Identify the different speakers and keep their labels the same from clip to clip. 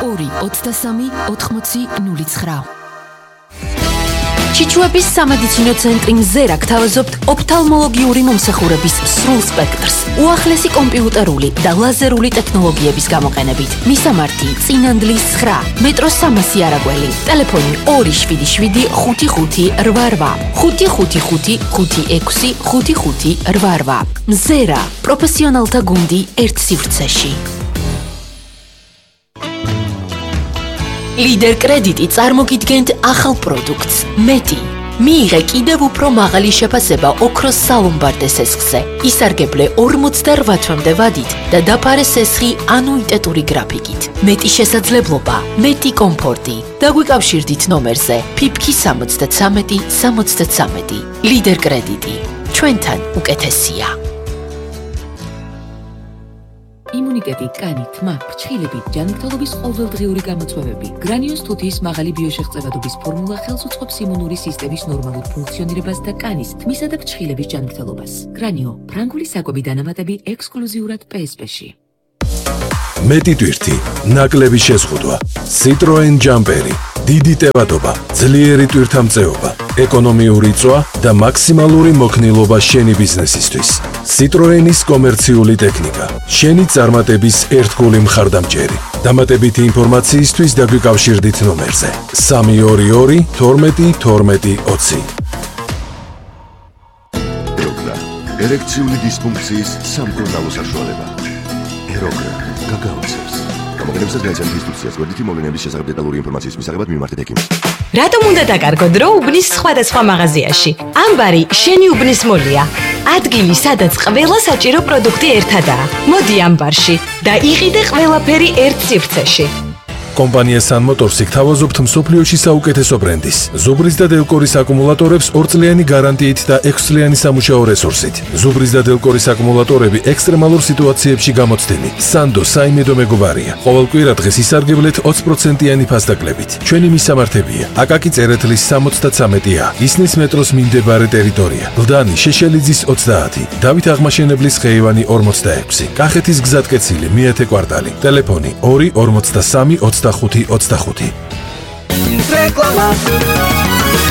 Speaker 1: 223 ჩიჩუების სამედიცინო ცენტრი მზერა გთავაზობთ ოფთალმოლოგიური მომსახურების სრულ სპექტრს, უახლესი კომპიუტერული და ლაზერული ტექნოლოგიების გამოყენებით. მისამართი: წინანდლის 9, მეტროს 300 არაგველი, ტელეფონი 277 55 88 555 56 55 88. მზერა, პროფესიონალთა გუნდი ერთ სივრცეში. ლიდერ კრედიტი წარმოგიდგენთ ახალ პროდუქტს მეტი. მიიღე კიდევ უფრო მაღალი შეფასება ოქროს სალომბარდე სესხზე. ისარგებლე 48 თვემდე ვადით და დაფარე სესხი ანუიტეტური გრაფიკით. მეტი შესაძლებლობა, მეტი კომფორტი. დაგვიკავშირდით ნომერზე ფიფქი 73 73. ლიდერ კრედიტი. ჩვენთან უკეთესია.
Speaker 2: იმუნიტეტი, კანი, თმა, ფრჩხილები, ჯანმრთელობის ყოველდღიური გამოწვევები. გრანიოს თუთიის მაღალი ბიოშეღწევადობის ფორმულა ხელს უწყობს იმუნური სისტემის ნორმალურ ფუნქციონირებას და კანის, თმისა და ფრჩხილების ჯანმრთელობას. გრანიო, ფრანგული საკვები დანამატები ექსკლუზიურად PSP-ში.
Speaker 3: მეტი ტვირთი, ნაკლები შეზღუდვა, Citroen ჯამპერი, დიდი ტევადობა, ძლიერი ტვირთამწეობა, ეკონომიური წვა და მაქსიმალური მოქნილობა შენი ბიზნესისთვის. Citroenis კომერციული ტექნიკა, შენი წარმატების ერთგული მხარდამჭერი. დამატებითი ინფორმაციისთვის დაგვიკავშირდით ნომერზე 322 12 12 20.
Speaker 4: ეროგრა, ერექციული დისფუნქციის სამკურნალო საშუალება. ეროგრა გაგაოცებს. გამოყენებისას განიცადეთ ინსტრუქციას, გვერდითი მოვლენების შესახებ დეტალური ინფორმაციის მისაღებად მიმართეთ ექიმს.
Speaker 5: რატომ უნდა დაკარგოთ დრო უბნის სხვადასხვა მაღაზიაში? ამბარი შენი უბნის მოლია. ადგილი, სადაც ყველა საჭირო პროდუქტი ერთადაა. მოდი ამბარში და იყიდე ყველაფერი ერთ სივრცეში.
Speaker 3: კომპანია Sun Motors გთავაზობთ მსოფლიოში საუკეთესო ბრენდის, ზუბრის და დელკორის აკუმულატორებს 2 წლიანი გარანტიით და 6 წლიანი სამუშაო რესურსით. ზუბრის და დელკორის აკუმულატორები ექსტრემალურ სიტუაციებში გამოცდილი. Sando საიმედო მეგობარია. ყოველ კვირა დღეს ისარგებლეთ 20%-იანი ფასდაკლებით. ჩვენი მისამართებია: აკაკი წერეთლის 73A, ისნის მეტროს მიმდებარე ტერიტორია, გლდანი შეშელიძის 30, დავით აღმაშენებლის ხეივანი 46, კახეთის გზატკეცილი მეათე კვარტალი, ტელეფონი 243 25.
Speaker 6: რეკლამა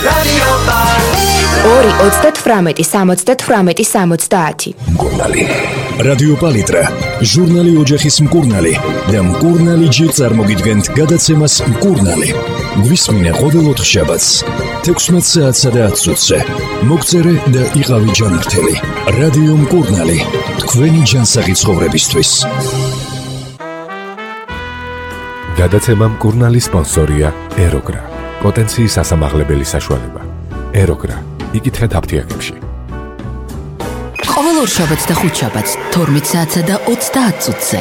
Speaker 6: რადიო
Speaker 7: პალიტრა 2-18-70-70.
Speaker 8: მკურნალი რადიო პალიტრა, ჟურნალი ოჯახის მკურნალი და მკურნალი ჯერ წარმოგიდგენთ გადაცემას მკურნალი. გვისმინე ყოველ 4 შაბათს 16 საათსა და 10 წუთზე. მოგწერე და იყავი ჯანმრთელი. რადიო მკურნალი, თქვენი ჯანსაღი ცხოვრებისთვის.
Speaker 9: გადაცემა მკურნალი სპონსორია ეროგრა. პოტენციის ასამაღლებელი საშუალება. ეროგრა. იკითხეთ აფთიაქებში.
Speaker 1: ყოველ ორშაბათს და ხუთშაბათს 12 საათსა და 30 წუთზე.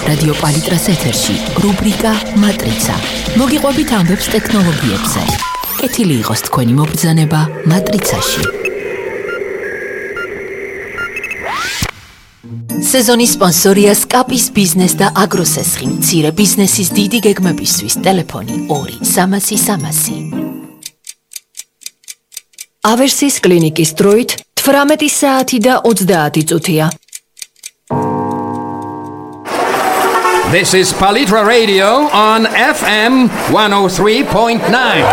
Speaker 1: რადიო პალიტრას ეთერში რუბრიკა მატრიცა. მოგიყვებით ამბებს ტექნოლოგიებზე. კეთილი იყოს თქვენი მობრძანება მატრიცაში. სეზონის სპონსორია სკაპის ბიზნეს და აგროსესხი. მცირე ბიზნესის დიდი გეგმებისთვის ტელეფონი 2-300.
Speaker 7: ავერსის კლინიკის დროით 18 საათი და 30 წუთია.
Speaker 10: This is Palitra Radio on FM 103.9.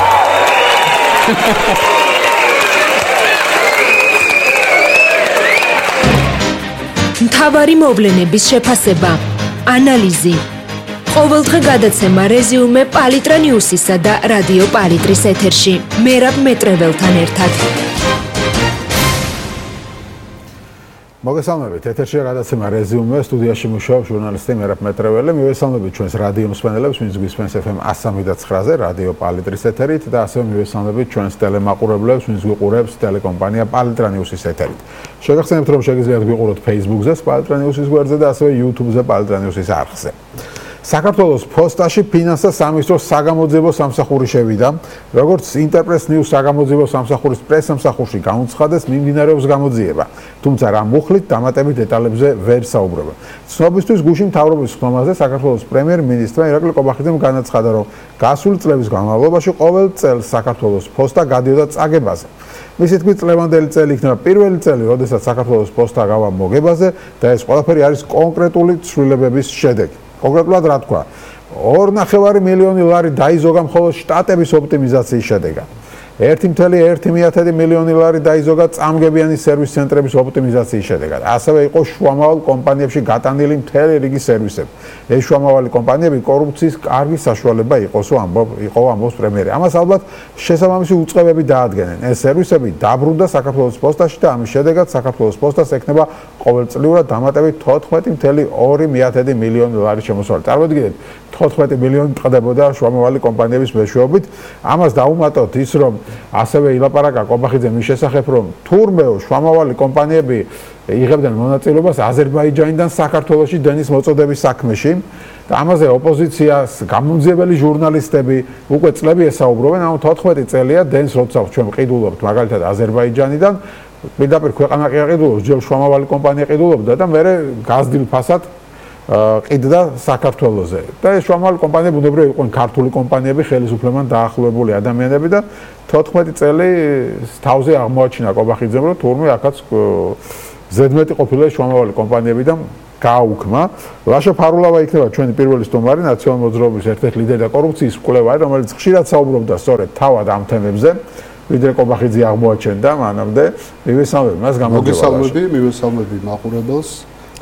Speaker 7: მთავარი მოვლენების შეფასება, ანალიზი. ყოველდღე გადაცემა რეზიუმე პალიტრა ნიუსისა და რადიო პალიტრის ეთერში. მერაბ მეტრეველთან ერთად.
Speaker 11: მოგესალმებით, ეთერშია გადაცემა რეზიუმე, სტუდიაში მუშაობს ჟურნალისტი მერაბ მეტრეველი. მივესალმებით ჩვენს რადიო მსმენელებს, ვინც გვისმენს FM 103-ზე, რადიო პალიტრის ეთერით და ასევე მივესალმებით ჩვენს ტელემაყურებლებს, ვინც გვიყურებს ტელეკომპანია პალიტრა ნიუსის ეთერით. შეგახსენებთ, რომ შეგიძლიათ გვიყუროთ Facebook-ზე, პალიტრა ნიუსის გვერდზე და ასევე YouTube-ზე პალიტრა ნიუსის არხზე. საქართველოს ფოსტაში ფინანსთა სამინისტროს საგამოძიებო სამსახური შევიდა. როგორც ინტერპრეს ნიუს საგამოძიებო სამსახურის პრესსამსახურში გამოცხადეს, მიმდინარეობს გამოძიება. თუმცა რა მუხლით დამატებით დეტალებზე ვერ საუბრობა. ცნობისთვის გუშინ მთავრობის ხმამაზე საქართველოს პრემიერ-მინისტრმა ირაკლი ყობახიძემ განაცხადა, რომ გასული წლების განმავლობაში ყოველ წელს საქართველოს ფოსტა გადიოდა წაგებაზე. მისი თქმით, წლევანდელი წელი იქნება პირველი წელი, როდესაც საქართველოს ფოსტა გავა მოგებაზე და ეს ყველაფერი არის კონკრეტული ცვლილებების შედეგი. კონკრეტულად რა თქვა 2.5 მილიონი ლარი დაიზოგა მხოლოდ შტატების ოპტიმიზაციის შედეგად 1.1 მილიონი ლარი დაიზოგა წამგებიანი სერვის ცენტრების ოპტიმიზაციის შედეგად. ასევე იყო შუამავალ კომპანიებში გატანილი მთელი რიგი სერვისები. ეს შუამავალი კომპანიები კორუფციის კარგი საშუალება იყო ამბობს პრემიერი. ამას ალბათ შესაბამისი უწყებები დაადგენენ. ეს სერვისები დაბრუნდა საქართველოს პოსტაში და ამის შედეგად საქართველოს პოსტას ექნება ყოველწლიურად დამატებით 14.2 მილიონი ლარი შემოსავალი. წარმოიდგინეთ 14 მილიონი ტყდებოდა შუამავალი კომპანიების მეშვეობით. ამას დაუმატოთ ის რომ ასევე ილაპარაკა კობახიძე მის შესახებ რომ თურმე შუამავალი კომპანიები იღებდნენ მონაწილეობას აზერბაიჯანიდან საქართველოში დენის მოწოდების საქმეში და ამაზე ოპოზიციას გამომძიებელი ჟურნალისტები უკვე წლები ესაუბრობენ ამ 14 წელია დენს როცა ჩვენ ყიდულობთ მაგალითად აზერბაიჯანიდან პირდაპირ ქვეყანა კი აყიდულობს ჯერ შუამავალი კომპანია ყიდულობდა და მე გაზრდილ ფასად ყიდდა საქართველოზე და ეს შუამავალი კომპანიები ბუნებრივია იყვნენ ქართული კომპანიები ხელისუფლებამ დაახლოებული ადამიანები და 14 წელი თავზე აღმოაჩინა კობახიძემ რომ თურმე ახაც ზედმეტი ყოფილა შუამავალი კომპანიებიდან გააუქმა ლაშა ფარულავა იქნება ჩვენი პირველი სტუმარი ნაციონალური მოძრაობის ერთ-ერთი ლიდერი და კორუფციის მკვლევარი რომელიც ხშირად საუბრობდა სწორედ თავად ამ თემებზე ვიდრე კობახიძე აღმოაჩენდა მანამდე მივესალმები მას გამოგესალმები
Speaker 12: მივესალმები მაყურებელს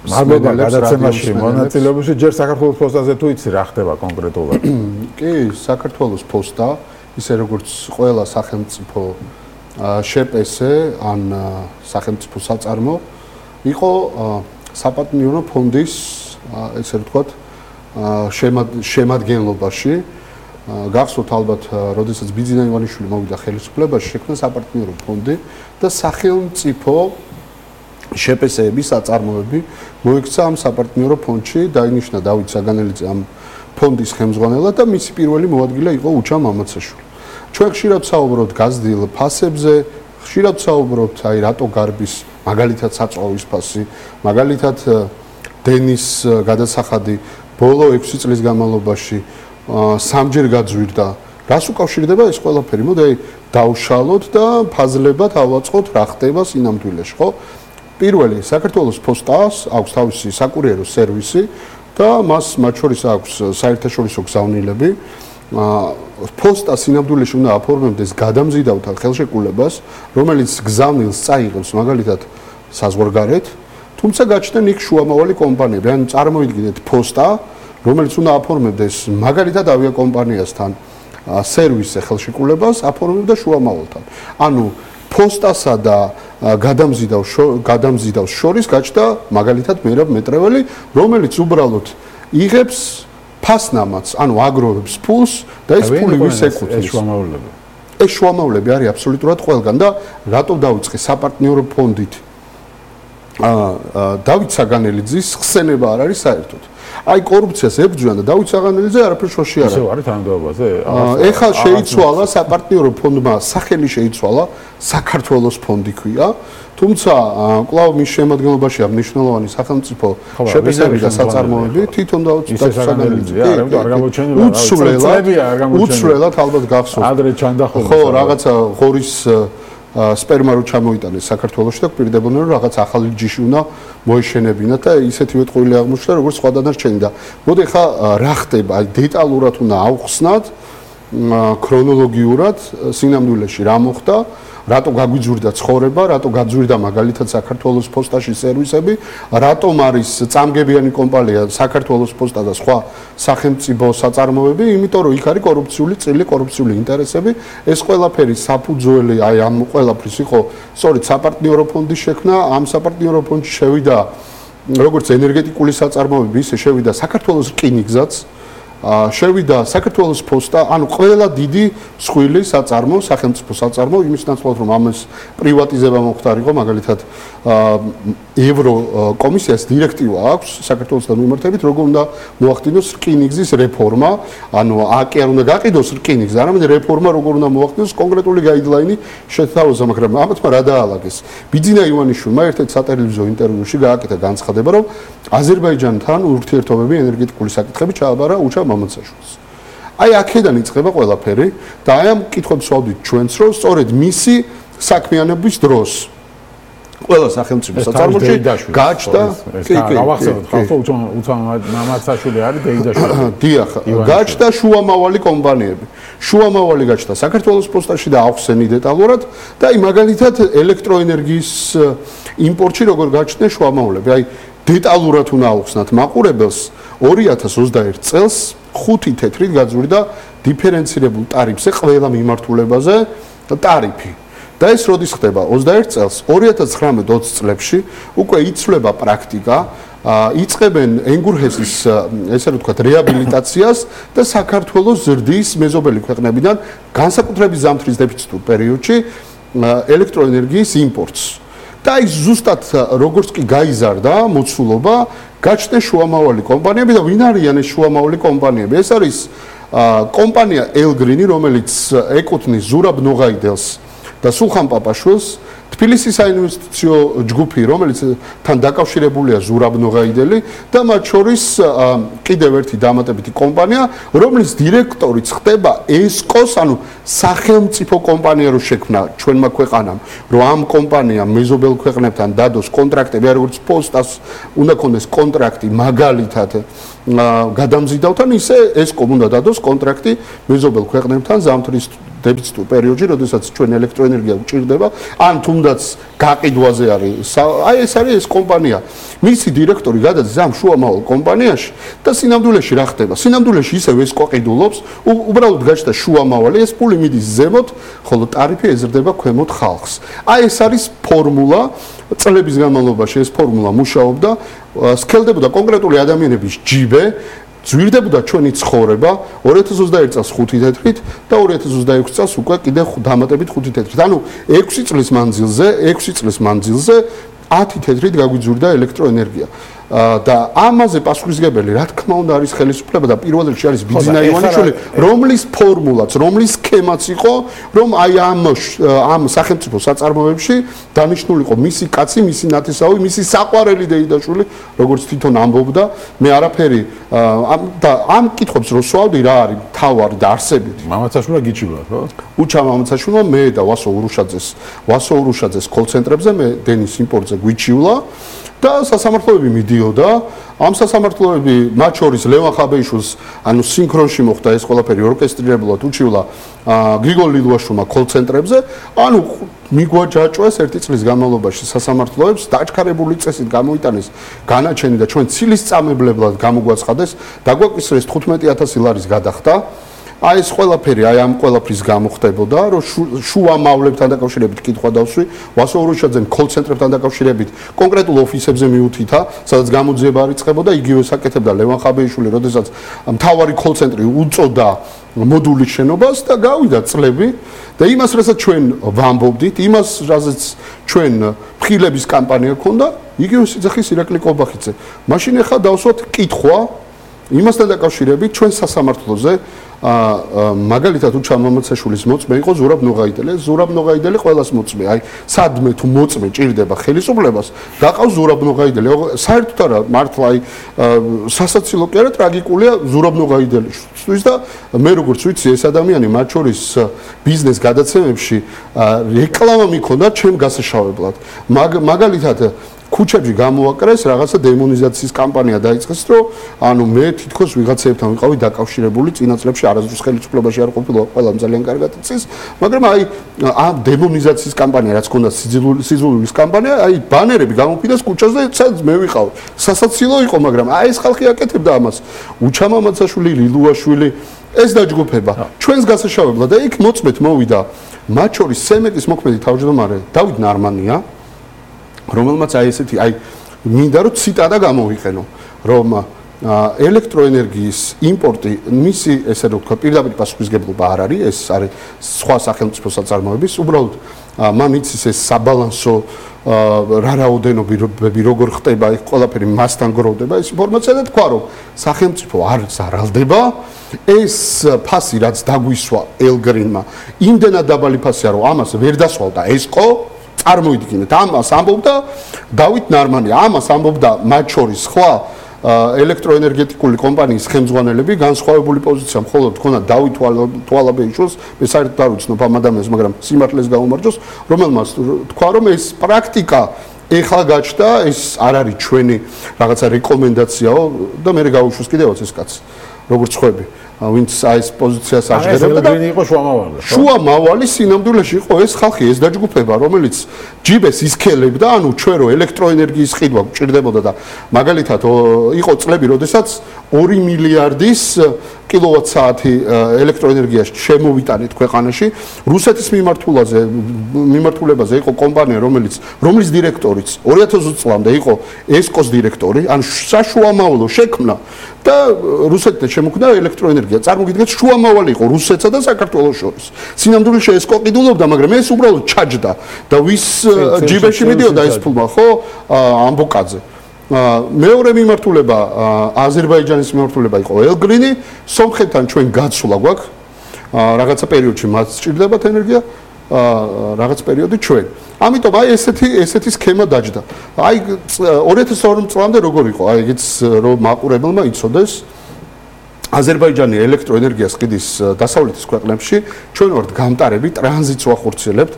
Speaker 11: მადლობა გადაცემაში მონაწილეობისთვის ჯერ საქართველოს პოსტაზე თუ იცი რა ხდება კონკრეტულად
Speaker 12: კი საქართველოს პოსტა ისე როგორც ყველა სახელმწიფო შეპესე ან სახელმწიფო საწარმო იყო საპარტნიორო ფონდის ესე ვთქვათ შემადგენლობაში გახსოვთ ალბათ როდესაც ბიძინა ივანიშვილი მოვიდა ხელისუფლებაში შექმნა საპარტნიორო ფონდი და სახელმწიფო შეპესეების საწარმოები მოიქცა ამ საპარტნიორო ფონდში დაინიშნა დავით საგანელიძე ამ ფონდის ხელმძღვანელად და მისი პირველი მოადგილე იყო უჩა მამაცაშვილი. ჩვენ ხშირად საუბრობთ გაზრდილ ფასებზე, ხშირად საუბრობთ აი რატო გარბის მაგალითად საწვავის ფასი, მაგალითად დენის გადასახადი ბოლო 6 წლის განმავლობაში სამჯერ გაძვირდა. რას უკავშირდება ეს ყველაფერი? მოდი აი დავშალოთ და ფაზლებად ავაწყოთ რა ხდება სინამდვილეში, ხო? პირველი საქართველოს პოსტას აქვს თავისი საკურიერო სერვისი და მას მათ შორის აქვს საერთაშორისო გზავნილები. პოსტა სინამდვილეში უნდა აფორმებდეს გადამზიდავთან ხელშეკრულებას, რომელიც გზავნილს წაიღებს მაგალითად საზღვარგარეთ, თუმცა გაჩნდნენ იქ შუამავალი კომპანიები. ან წარმოიდგინეთ პოსტა, რომელიც უნდა აფორმებდეს მაგალითად ავიაკომპანიასთან სერვისზე ხელშეკრულებას, აფორმებდა შუამავალთან. ანუ პოსტასა და გადამზიდავს შორის გაჩნდა მაგალითად მერაბ მეტრეველი, რომელიც უბრალოდ იღებს ფასნამაც, ანუ აგროვებს ფულს და ეს ფული ვის ეკუთვნის? ეს შუამავლები არის აბსოლუტურად ყველგან და რატო დავიწყე საპარტნიორო ფონდით? დავით საგანელიძის ხსენება არ არის საერთოდ. აი კორუფციას ებრძვიან და დავით საგანელიძე არაფერ შოში არ არის.
Speaker 11: ისე არის თანამდებობაზე?
Speaker 12: ეხლა შეიცვალა საპარტნიორო ფონდმა სახელი შეიცვალა საქართველოს ფონდი ქვია. თუმცა კვლავ მის შემადგენლობაშია მნიშვნელოვანი სახელმწიფო შეპესები და საწარმოები თვითონ დავით საგანელიძეა.
Speaker 11: არ გამოჩენილა
Speaker 12: უცვლელად ალბათ გახსოვთ.
Speaker 11: ადრე ჩანდახოლა.
Speaker 12: ხო, რაღაცა ღორის სპერმა რო ჩამოიტანეს საქართველოში და გვპირდებოდნენ რომ რაღაც ახალი ჯიში უნდა მოეშენებინათ და ისეთივე ტყუილი აღმოჩნდა როგორც სხვა დანარჩენი და მოდი ხა რა ხდება აი დეტალურად უნდა ავხსნათ ქრონოლოგიურად სინამდვილეში რა მოხდა რატო გაგვიძვირდა ცხოვრება, რატო გაძვირდა მაგალითად საქართველოს პოსტაში სერვისები, რატომ არის წამგებიანი კომპანია საქართველოს პოსტა და სხვა სახელმწიფო საწარმოები, იმიტომ რომ იქ არის კორუფციული წილი, კორუფციული ინტერესები, ეს ყველაფერი საფუძველი აი ამ ყველაფრის იყო სწორედ საპარტნიორო ფონდის შექმნა, ამ საპარტნიორო ფონდში შევიდა როგორც ენერგეტიკული საწარმოები, ისე შევიდა საქართველოს რკინიგზაც შევიდა საქართველოს პოსტა, ანუ ყველა დიდი მსხვილი საწარმო, სახელმწიფო საწარმო, იმის ნაცვლად რომ ამას პრივატიზება მოხდარიყო, მაგალითად ევროკომისიას დირექტივა აქვს საქართველოსთან მიმართებით, როგორ უნდა მოახდინოს რკინიგზის რეფორმა, ანუ აკი არ უნდა გაყიდოს რკინიგზა, არამედ რეფორმა როგორ უნდა მოახდინოს კონკრეტული გაიდლაინი შეთავაზა, მაგრამ ამათმა რა დაალაგეს. ბიძინა ივანიშვილმა ერთ-ერთ სატელევიზიო ინტერვიუში გააკეთა განცხადება, რომ აზერბაიჯანთან ურთიერთობები ენერგეტიკული საკითხები ჩააბარა უჩა მამაცაშვილს. აი აქედან იწყება ყველაფერი და აი ამ კითხვებს ვავდით ჩვენც, რომ სწორედ მისი საქმიანობის დროს ყველა სახელმწიფო საწარმოში გაჩნდა
Speaker 11: გავახსენოთ ხალხო მამაცაშვილი არის დეიდაშვილი
Speaker 12: დიახ გაჩნდა შუამავალი კომპანიები შუამავალი გაჩნდა საქართველოს პოსტაში და ახსენი დეტალურად და აი მაგალითად ელექტროენერგიის იმპორტში როგორ გაჩნდნენ შუამავლები აი დეტალურად უნდა ახსნათ მაყურებელს 2021 წელს 5 თეთრით გაძვირდა დიფერენცირებულ ტარიფზე ყველა მიმართულებაზე ტარიფი და ეს როდის ხდება 21 წელს 2019-20 წლებში უკვე იცვლება პრაქტიკა იწყებენ ენგურჰესის ესე რომ ვთქვათ რეაბილიტაციას და საქართველოს ზრდის მეზობელი ქვეყნებიდან განსაკუთრებით ზამთრის დეფიციტურ პერიოდში ელექტროენერგიის იმპორტს და აი ზუსტად როგორც კი გაიზარდა მოცულობა გაჩნდნენ შუამავალი კომპანიები და ვინ არიან ეს შუამავალი კომპანიები ეს არის კომპანია ელგრინი რომელიც ეკუთვნის ზურაბ ნოღაიდელს და სულხან პაპაშვილს თბილისის საინვესტიციო ჯგუფი რომელიც თან დაკავშირებულია ზურაბ ნოღაიდელი და მათ შორის კიდევ ერთი დამატებითი კომპანია რომლის დირექტორიც ხდება ესკოს ანუ სახელმწიფო კომპანია რო შექმნა ჩვენმა ქვეყანამ რომ ამ კომპანიამ მეზობელ ქვეყნებთან დადოს კონტრაქტები როგორც პოსტას უნდა ქონდეს კონტრაქტი მაგალითად გადამზიდავთან ისე ესკომ უნდა დადოს კონტრაქტი მეზობელ ქვეყნებთან ზამთრის დეფიციტურ პერიოდში, როდესაც ჩვენ ელექტროენერგია გვჭირდება, ან თუნდაც გაყიდვაზე არის. აი ეს არის ეს კომპანია. მისი დირექტორი გადადის ამ შუამავალ კომპანიაში და სინამდვილეში რა ხდება? სინამდვილეში ისევ ეს ყოყიდულობს, უბრალოდ გაჩნდა შუამავალი, ეს პული მიდის ზემოთ, ხოლო ტარიფი ეზრდება ქვემოთ ხალხს. აი ეს არის ფორმულა, წლების განმავლობაში ეს ფორმულა მუშაობდა, სქელდებოდა კონკრეტული ადამიანების ჯიბე ძვირდებოდა ჩვენი ცხოვრება 2021 წელს 5 თეთრით და 2026 წელს უკვე კიდევ დამატებით 5 თეთრით. ანუ 6 წლის მანძილზე 10 თეთრით გაგვიძვირდა ელექტროენერგია. და ამაზე პასუხისმგებელი რა თქმა უნდა არის ხელისუფლება და პირველ რიგში არის ბიძინა ივანიშვილი, რომლის ფორმულაც, რომლის სქემაც იყო, რომ აი ამ სახელმწიფო საწარმოებში დანიშნულიყო მისი კაცი, მისი ნათესავი, მისი საყვარელი დეიდაშვილი, როგორც თვითონ ამბობდა, მე არაფერი და ამ კითხვებს რო სვავდი რა არის თავარი და არსებითი.
Speaker 11: მამაცაშვილა გიჩილა, ხო?
Speaker 12: უჩა მამაცაშვილმა მე და ვასო ურუშაძეს კოლცენტრებზე მე დენის იმპორტზე გვიჩივლა. და სასამართლოები მიდიოდა ამ სასამართლოები მათ შორის ლევან ხაბეიშვილს ანუ სინქრონში მოხდა ეს ყველაფერი ორკესტრირებულად უჩივლა გრიგოლ ლილუაშვილმა კოლცენტრებზე ანუ მიგვაჯაჭვეს ერთი წლის განმავლობაში სასამართლოებს დაჩქარებული წესით გამოიტანეს განაჩენი და ჩვენ ცილისწამებლად გამოგვაცხადეს დაგვაკისრეს 15000 ლარის გადახდა აი ეს ყველაფერი აი ამ ყველაფრის გამოხდებოდა რომ შუამავლებთან დაკავშირებით კითხვა დავსვი ვასო ურუშაძემ კოლცენტრებთან დაკავშირებით კონკრეტულ ოფისებზე მიუთითა სადაც გამოძიება არიწყებოდა იგივე საკეთებდა ლევან ხაბეიშვილი როდესაც მთავარი კოლცენტრი უწოდა მოდულის შენობას და გავიდა წლები და იმას რასაც ჩვენ ვამბობდით იმას რასაც ჩვენ ფხილების კამპანია ქონდა იგივე სიძახის ირაკლი კობახიძე მაშინ ახლა დავსვათ კითხვა იმასთან დაკავშირებით ჩვენ სასამართლოზე მაგალითად უჩა მამაცაშვილის მოწმე იყო ზურაბ ნოღაიდელი ყველას მოწმე აი სადმე თუ მოწმე ჭირდება ხელისუფლებას გაყავს ზურაბ ნოღაიდელი საერთოდ არა მართლა აი სასაცილო კი არა ტრაგიკულია ზურაბ ნოღაიდელისთვის და მე როგორც ვიცი ეს ადამიანი მათ შორის ბიზნეს გადაცემებში რეკლამა მიქონდა ჩემ გასაშავებლად მაგალითად ქუჩებში გამოაკრეს რაღაცა დემონიზაციის კამპანია დაიწყეს რომ ანუ მე თითქოს ვიღაცებთან ვიყავი დაკავშირებული წინა წლებში არასდროს ხელისუფლებაში არ ყოფილა ყველამ ძალიან კარგად იცის მაგრამ აი ამ დემონიზაციის კამპანია რაც ქონდა სიძულვილის კამპანია აი ბანერები გამოფიტეს ქუჩაზე სადაც მე ვიყავი სასაცილო იყო მაგრამ აი ეს ხალხი აკეთებდა ამას უჩა მამაცაშვილი ლილუაშვილი ეს დაჯგუფება ჩვენს გასაშავებლად და იქ მოწმეთ მოვიდა მათ შორის სემეკის მოქმედი თავმჯდომარე დავით ნარმანია რომელმაც აი ესეთი აი მინდა რომ ციტატა გამოვიყენო რომ ელექტროენერგიის იმპორტი მისი ესე რომ ვთქვა პირდაპირ პასუხისმგებლობა არ არის ეს არის სხვა სახელმწიფო საწარმოების უბრალოდ მან იცის ეს საბალანსო რა რაოდენობები როგორ ხდება ეს ყველაფერი მასთან გროვდება ეს ინფორმაცია და თქვა რომ სახელმწიფო არ ზარალდება ეს ფასი რაც დაგვისვა ელგრინმა იმდენად დაბალი ფასია რომ ამას ვერ დასვალდა ესკო წარმოიდგინეთ ამას ამბობდა დავით ნარმანი ამას ამბობდა მათ შორის ხვა ელექტროენერგეტიკული კომპანიის ხელმძღვანელები განსხვავებული პოზიცია მხოლოდ ქონდა დავით თვალაბეიშვილს, მე საერთოდ არ ვიცნობ ამ ადამიანს, მაგრამ სიმართლეს გაუმარჯოს, რომელმაც თქვა, რომ ეს პრაქტიკა ეხლა გაჩნდა, ეს არ არის ჩვენი რაღაცა რეკომენდაციაო და მე გავუშვეს კიდევაც ეს კაცი, როგორც ხვები. ვინც ეს პოზიციას აღждებდა და
Speaker 11: იყო შუამავალი.
Speaker 12: შუამავალი სინამდვილეში იყო ეს ხალხი, ეს დაჯგუფება, რომელიც ჯიბეს ისქელებდა, ანუ ჩვენ რო ელექტროენერგიის ყიდვა გვჭირდებოდა და მაგალითად იყო წლები, როდესაც 2 მილიარდის კილოვატ-საათი ელექტროენერგია შემოვიტანეთ ქვეყანაში. რუსეთის მიმართულებაზე იყო კომპანია, რომლის დირექტორიც 2020 წლამდე იყო ესკოს დირექტორი, ანუ საშუამავლო შექმნა და რუსეთთან შემოქმნა ელექტროენერგია. წარმოგიდგენთ, შუამავალი იყო რუსეთსა და საქართველოს შორის. სინამდვილეში ესკო ყიდულობდა, მაგრამ ეს უბრალოდ ჩაჯდა და ვის ჯიბეში მიდიოდა ეს ფულმა, ხო? ამბოკაძე. მეორე მიმართულება აზერბაიჯანის მიმართულება იყო ელგრინი, სომხეთთან ჩვენ გაცვლა გვაქვს. რაღაცა პერიოდში მათ სჭირდებათ ენერგია, რაღაც პერიოდი ჩვენ. ამიტომ აი ესეთი სქემა დაჯდა. აი 2002 წლამდე როგორ იყო? აი ეგეც რომ მაყურებელმა იცოდეს, აზერბაიჯანი ელექტროენერგიას ყიდის დასავლეთის ქვეყნებში, ჩვენ ვართ გამტარები, ტრანზიტს ვახორციელებთ.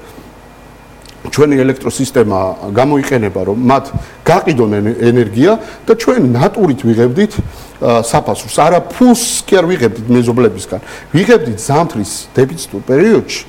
Speaker 12: ჩვენი ელექტროსისტემა გამოიყენება, რომ მათ გაყიდონ ენერგია და ჩვენ ნატურით ვიღებდით საფასურს. არა ფულს კი არ ვიღებდით მეზობლებისგან. ვიღებდით ზამთრის დეფიციტურ პერიოდში